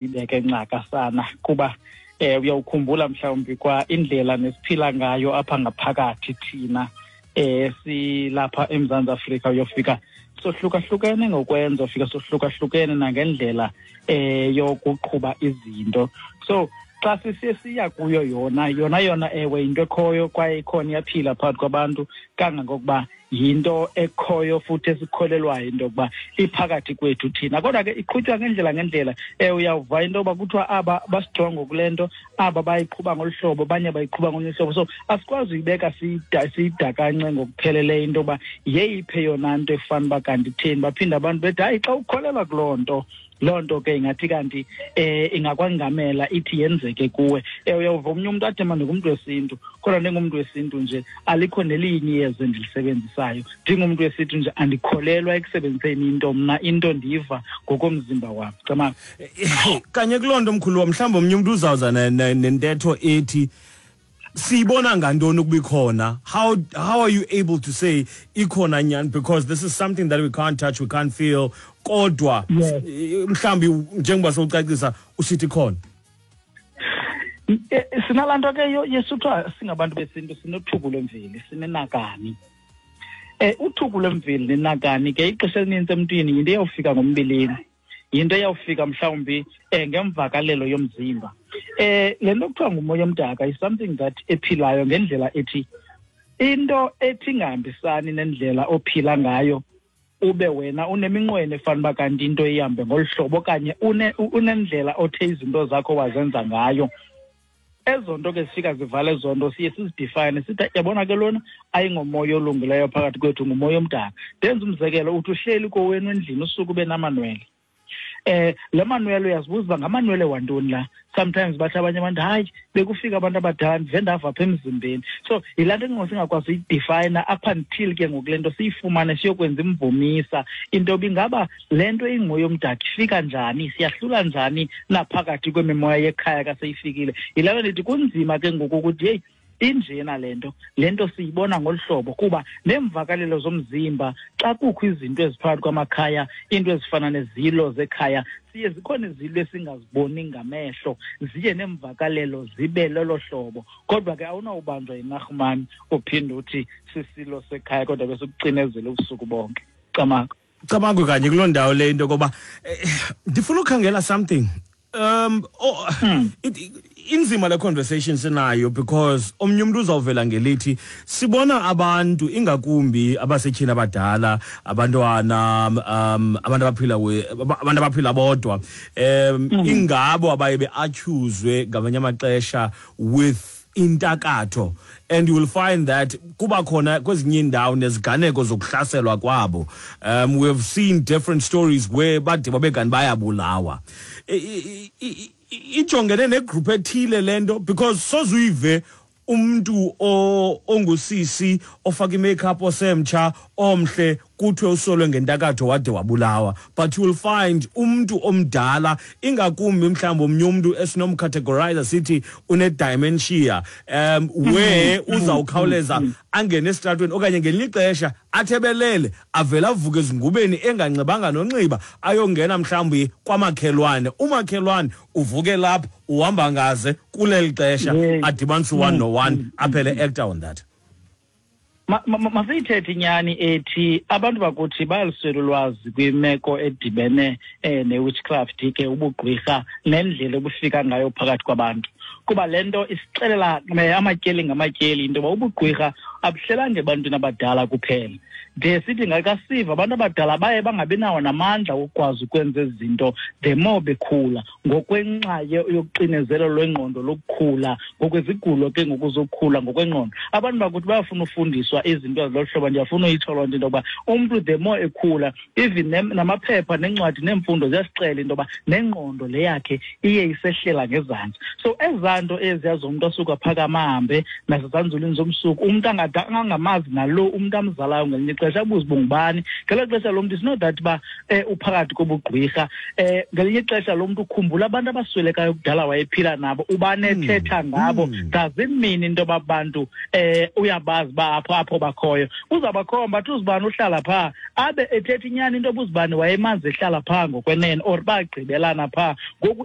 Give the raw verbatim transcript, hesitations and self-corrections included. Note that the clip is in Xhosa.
Ibeke ncakasana kuba eh uyawukhumbula mhlawumbi kwa indlela nesiphila ngayo apha ngaphakathi thina eh silapha eMzantsi Afrika, uyofika sohlukahlukene ngokwenza, ufika sohlukahlukene nangendlela eh yokuqhuba izinto. So xa sisiye siya kuyo yona yona yona ewe into ekhoyo kwaye ikhona, iyaphila phakathi kwabantu kangangokuba yinto ekhoyo futhi esikholelwayo into yokuba iphakathi kwethu thina, kodwa ke iqhutywa ngendlela ngendlela. Eh uyawuva into yoba kuthiwa aba bastrongo kule nto, aba bayiqhuba ngolu hlobo, abanye bayiqhuba ngolunye uhlobo. So asikwazi uyibeka siyidakance ngokupheleleyo into yoba yeyiphi yona nto efana uba kanti itheni. Baphinde abantu bethi hayi, xa ukholelwa kuloo nto, loo nto ke ingathi kanti eh ingakwangamela ithi yenzeke kuwe. Eh uyawuva omnye umntu athi mna ndingumntu wesintu, kodwa ndingumntu wesintu nje alikho nelinye iyeza endilisebenzisayo, ndingumntu wesintu nje andikholelwa ekusebenziseni into mna, into ndiyiva ngokomzimba wam. Cama kanye kuloo nto mkhulu, mhlawumbi omnye umntu uzawuza nentetho ethi siyibona ngantoni ukuba ikhona? How how are you able to say ikhona nyani? Because this is something that we can't touch, we can't feel, kodwa mhlawumbi njengoba sowucacisa usithi ikhona. Sinalaa nto ke yesuthiwa singabantu besintu sinothuku lwemveli, sinenakani. Eh uthuku lwemveli nenakani ke ixesha elinintsi emntwini yinto eyawufika ngombilini, yinto eyawufika mhlawumbi eh ngemvakalelo yomzimba. Eh le nto kuthiwa ngumoya omdaka is something that ephilayo ngendlela ethi into ethi ingahambisani nendlela ophila ngayo, ube wena uneminqweno efana uba kanti into ihambe ngolu hlobo okanye unendlela othe izinto zakho wazenza ngayo. Ezo nto ke zifika zivale ezo nto, siye sizidefine sithi yabona ke lona ayingomoya olungileyo phakathi kwethu, ngumoya omdaka. Ndenza umzekelo, uthi uhleli kowenu endlini usuke ube namanwele. Eh le manwele uyazibuza uba ngamanwele wantoni la. Sometimes bathi abanye abantu hayi bekufika abantu abadala ndive ndava apha emzimbeni. So yilaa nto engoku singakwazi uyidefayina up until ke ngoku le nto siyifumane siyokwenza imvumisa into yoba ingaba le nto ingumoya omdaka ifika njani, siyahlula njani naphakathi kwemimoya yekhaya kaseyifikile. Yilaa nto ndithi kunzima ke ngoku ukuthi yeyi injena le nto, le nto siyibona ngolu hlobo, kuba neemvakalelo zomzimba xa kukho izinto eziphakathi kwamakhaya, iinto ezifana nezilo zekhaya, siye zikhona izilo esingaziboni ngamehlo, ziye neemvakalelo zibe lolo hlobo. Kodwa ke awunawubanjwa yinarhumani uphinde uthi sisilo sekhaya kodwa besikucinezela ubusuku bonke. Camago. Camago kanye kuloo ndawo le into koba ndifuna ukhangela something. Um oh, hmm. it, inzima le conversation sinayo because omnye umuntu uzawuvela ngelithi sibona abantu ingakumbi abasetyhini abadala, abantwana, um abantu abaphila abantu abaphila bodwa, um mm. ingabo abaye be-accuswe ngamanye amaxesha with intakatho, and you will find that kuba khona kwezinye iindawo neziganeko zokuhlaselwa kwabo. Um we have seen different stories where bade babe kanti bayabulawa. Ijongene negroup ethile le nto because sozuyive umntu ongusisi ofaka i-makeup osemtsha omhle kuthiwe usolwe ngentakatho wade wabulawa, but you will find umntu omdala ingakumbi mhlawumbi omnye umntu esinomcategorize sithi une-dementia, um where uzawukhawuleza angene esitratweni okanye ngelinye ixesha athebelele avele avuke ezingubeni enganxibanga nonxiba ayongena mhlawumbi kwamakhelwane, umakhelwane uvuke lapho uhamba ngaze kuleli xesha adibanise one no one aphele actor on that. Masiyithethe inyani ethi abantu bakuthi bayaluswela ulwazi kwimeko edibene eh, ne-witchcraft ke, ubugqwirha nendlela obufika ngayo phakathi kwabantu, kuba le nto isixelela amatyeli ngamatyeli into yoba ubugqwirha abuhlelanga ebantwini abadala kuphela. De sithi ngakasiva abantu abadala baye bangabi nawo namandla wokukwazi ukwenza ezi zinto the more bekhula, ngokwenxa yokuxinezelo lwengqondo lokukhula, ngokwezigulo ke ngokuzokhula ngokwengqondo. Abantu bakuthi bayafuna ufundiswa izinto ezilolu hlobo. Ndiyafuna uyitsho loo nto into yokuba umntu the more ekhula, even namaphepha neencwadi neemfundo ziyasixela into yoba nengqondo le yakhe iye isehlela ngezantsi. So ezaa nto eziya zomntu asuka phakama ahambe nasezanzulwini zomsuku, umntu angathi Angamazi nalo umntu amzalayo ngelinye ixesha, abuze uba ngubani. Ngelo xesha lo mntu, it's not that uba um uphakathi kobugqwirha. um ngelinye ixesha lo mntu ukhumbula abantu abaswelekayo kudala wayephila nabo, ubanethetha ngabo. Doesn't mean into yoba bantu um uyabazi uba apho apho bakhoyo. Uzawubakhomba athi uzibani uhlala phaa, abe ethetha inyani into yoba uzibani wayemazi ehlala phaa ngokwenene, or bagqibelana phaa. Ngoku